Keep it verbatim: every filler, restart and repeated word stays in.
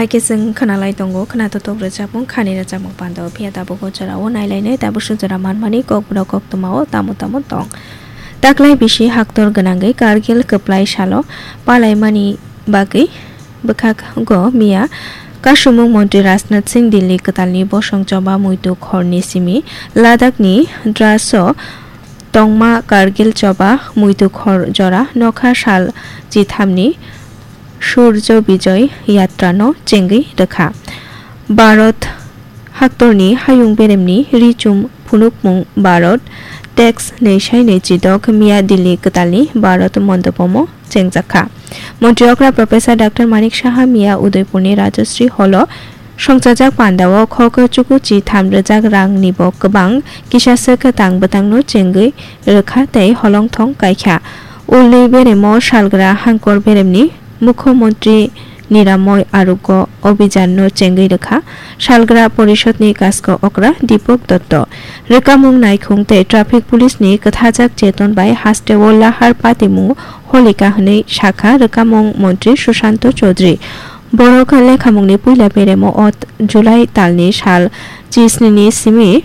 Haikhe chwng khwnalai tongo khwnatotok rwchapmung khani rwchapmung pando, phiya tabuk o jorao nailainai tabukso jora manmani kokborok koktwmao tamo tamo tong. Taklai bisi haktor gwnangwi Kargil kwplai salo palaimani bagwi bwkhago miya kasumung montri Rajnath Singh Delhi kwtalni bosong choba muitu khorni simi Ladakhni Draso tongma Kargil choba muitu khor jora nokha sal chithamni Surjo Bijoy Yatra no chengwi rwkha. Bharat haktorni hayung beremni richum phunukmung Bharat tex nei sai nei chidok miya Delhi kwtalni Bharat mondopomo chengjakha. Montri okra Professor Doctor Manik Saha miya Udaipurni Rajasri Holo songchajak pandao khok chuku chi tham rwjak rang nibo kwbang kisa swk tang bwtangno chengwi rwkha tei holongthong kaikha. Ulni beremo salgra hangkor beremni Mukho Montri Niramoy Arogyo Abhijan no chengwi rwkha salgra porishodni kasko okra Deepak Dotto. Rwkamung naikhung tei traffic police ni kwthajak cheton bai hasteo lahar patimung holika hwnwi sakha rwkamung montri Sushanto Chaudhary. Borok lekhamungni puila beremo o July talni sal chisnini simi